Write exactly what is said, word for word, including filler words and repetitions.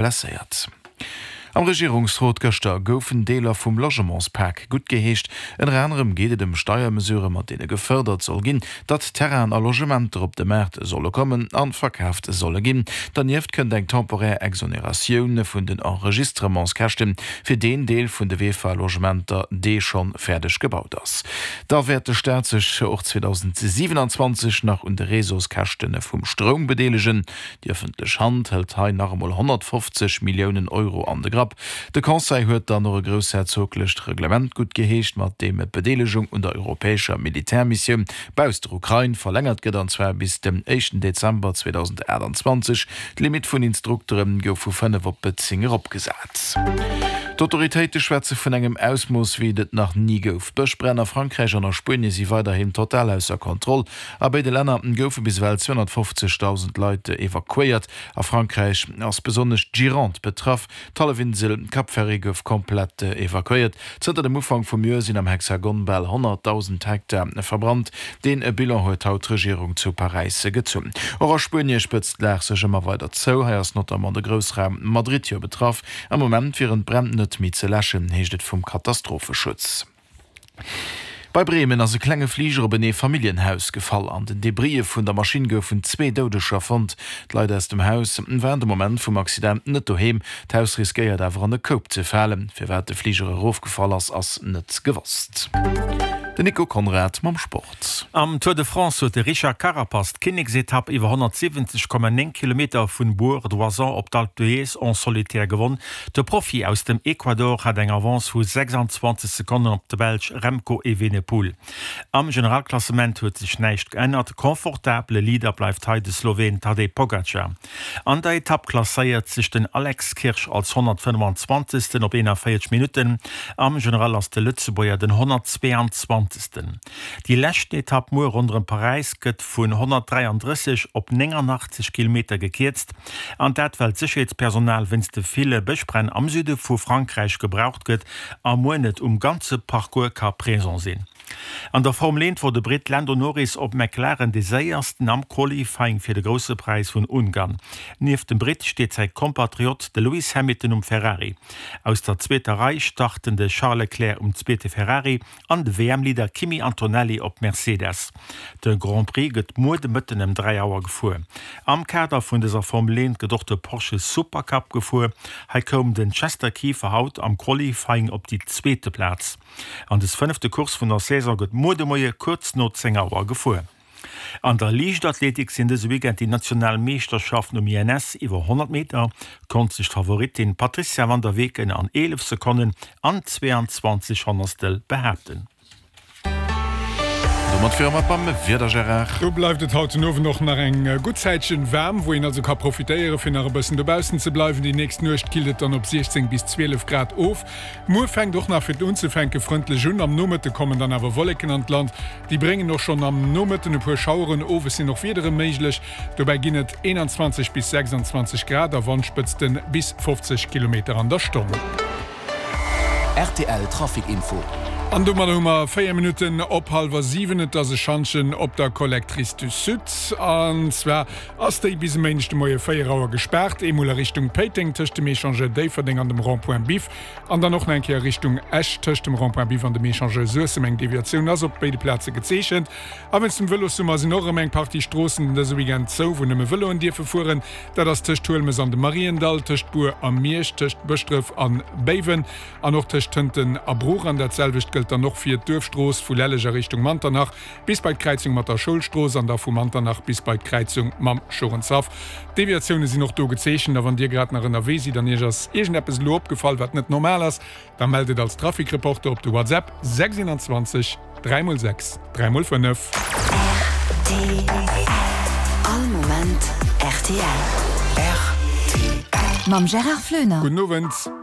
Blesséiert. Am Regierungsrot gëschter goufen Deeler vum Logementspak guttgeheescht. Ënner anerem geet et ëm Steiermesurë mat deene gefërdert soll ginn, datt Terrainen a Logementer op de Maart solle kommen a verkaaft solle ginn. Dernieft kënnt eng temporär Exoneratioun vun den Enregistrementskäschte fir deen Deel vun de VEFA-Logementer, dee schonn fäerdeg gebaut ass. Da wäert de Staat sech och zweedausendsiewenanzwanzeg nach un de Réseauskäschte vum Stroum bedeelegen. Déi ëffentlech Hand hëlt hei nach emol honnertfofzeg Milliounen Euro an de Grapp. De Conseil huet dann och e groussherzoglecht Reglement guttgeheescht, mat deem d'Bedeelegung un der europäescher Militärmissioun bausst der Ukrain verlängert gëtt, an zwar bis den éischten Dezember zweedausendachtanzwanzeg. D'Limitt vun Instruktere gouf vu fënnef op zéng eropgesat. D'Autoritéite schwätze vun engem Ausmooss, wéi et et nach ni gouf. D'Bëschbränn a Frankräich an a Spuenie si weiderhin total ausser Kontroll. A béide Länner goufe bis ewell zweehonnertfofzegdausend Leit evakuéiert. A Frankräich ass besonnesch d'Gironde betraff. D'Hallefinsel Cap Ferret gouf komplett evakuéiert. Zënter dem Ufank vum Joer sinn am Hexagon bal honnertdausend Hektar verbrannt. Dee Bilan huet haut d'Regierung zu Paräis gezunn. Och a Spuenie spëtzt d'Lag sech ëmmer weider zou. Hei ass notamment de Groussraum Madrid jo betraff. Am Moment wieren d'Bränn net méi ze läschen, heescht et vum Katastropheschutz. Bei Bremen ass e klenge Fliger op en Eefamilljenhaus gefall. An den Debrisse vun der Maschinn goufen zwee Doudeger fonnt. D'Leit aus dem Haus waren de Moment vum Accident net doheem. D'Haus riskéiert awer an e Koup ze falen. Firwat de Fliger erofgefall ass, ass net gewosst. Den Nico Conrad mam Sport. Am Tour de France huet de Richard Carapaz d'Kinneksetapp iwwer honnertsiwwenzeg Komma néng Kilometer vun Bourg-d'Oisans op d'Alpe d'Huez en solitaire gewonn. De Profi aus dem Ecuador hat eng Avance vu sechsanzwanzeg Sekonnen op de Belsch Remco Evenepoel. Am Generalklassement huet sech näischt geännert, confortabele Leader bleift hei de Sloween Tadej Pogacar. An der Etapp klasséiert sech den Alex Kirsch als honnertfënnefanzwanzegsten op eenanvéierzeg Minutten. Am General ass de Lëtzebuerger den honnertzweeanzwanzegsten. Déi leschten Etapp muer ronderëm Paräis gëtt vun honnertdräiandrësseg op néngannachtzeg Kilometer gekierzt, an dat well d'Sécherheetspersonal wéinst de ville Bëschbränn am Süde vu Frankräich gebraucht gëtt a muer net um ganze Parcours ka présent sinn. An der Formel eent wor de Britt Lando Norris op McLaren dee séiersten am Qualifying fir de Grousse Präis vun Ungarn. Nieft dem Britt steet säi Kompatriot de Lewis Hamilton um Ferrari. Aus der zweeter Rei starten de Charles Leclerc um zweete Ferrari an de W M Leader Kimi Antonelli op Mercedes. De Grand Prix gëtt muer de Mëtten ëm dräi Auer gefuer. Am Kader vun dëser Formel eent gëtt och de Porsche Supercup gefuer. Hei koum den Chester Kieffer haut am Qualifying op déi zweete Plaz. An des fënnefte Course vun der Saison gëtt muer de Moie kuerz no zéng Auer gefuer. An der Liichtathletik sinn dëse Weekend déi national Meeschterschaften. Um I N S iwwer honnert Meter konnt sech d'Favoritin Patricia van der Weken an eelef Sekonnen an zweeanzwanzeg Honnertstel behaapten. Domat wiere mer beim Wieder, Gérard. Do bleift et haut den Owend och nach eng gutt Zäitchen waarm, wou een also ka profitéiere fir nach e bëssen dobaussen ze bleiwen. Déi nächst Nuecht killt et dann op siechzéng bis zwielef Grad of. Muer fänkt och nach fir d'unzefänke frëndlech un, am Nomëtte kommen dann awer Wolleken an d'Land. Déi bréngen och schonn am Nomëtten e puer Schaueren, owes sinn och Wiedere méiglech. Dobäi ginn et eenanzwanzeg bis sechsanzwanzeg Grad a Wandspëtzte bis fofzeg Kilometer an der Stonn. R T L Trafic Info. An domadder hu mer véier Minutten op hallwer siwen. Et ass e Schantjen op der Collectrice du Sud. An zwar ass déi bis e Méindeg de Moie véier Auer gespaart. Eemol a Richtung Péiteng tëscht dem Echangeur Déifferdeng an dem Rond-point Biff. An dann och nach eng Kéier Richtung Esch tëscht dem Rond-point Biff an dem Echangeur Suessem. Eng Deviatioun ass op béide Plaze gezeechent. A wéinst dem Vëlossummer sinn och erëm eng Partie Stroossen dëse Weekend zou, wou nëmme Vëloen dierfe fueren. Dat ass tëscht Huelmes an dem Mariendall, tëscht Bur a Miersch, tëscht Bëschdref a Béiwen an och tëscht Tënten a Bruch. An dat selwecht gëllt dann och fir d'Duerfstrooss vu Lelleg a Richtung Manternach bis bei d'Kräizung mat der Schoulstrooss an da vu Manternach bis bei d'Kräizung mam Schorenshaff. D'Deviatioune sinn och do gezeechent a wann Dir grad nach ënnerwee sidd an Iech ass iergendeppes elo opgefall, wat net normal ass, da mellt et als Trafikreporter op de WhatsApp sechs eenanzwanzeg dräi mol sechs dräi mol fënnef. R T L. All Moment R T L. R T L. Mam Gérard Floener. Gudden Owend.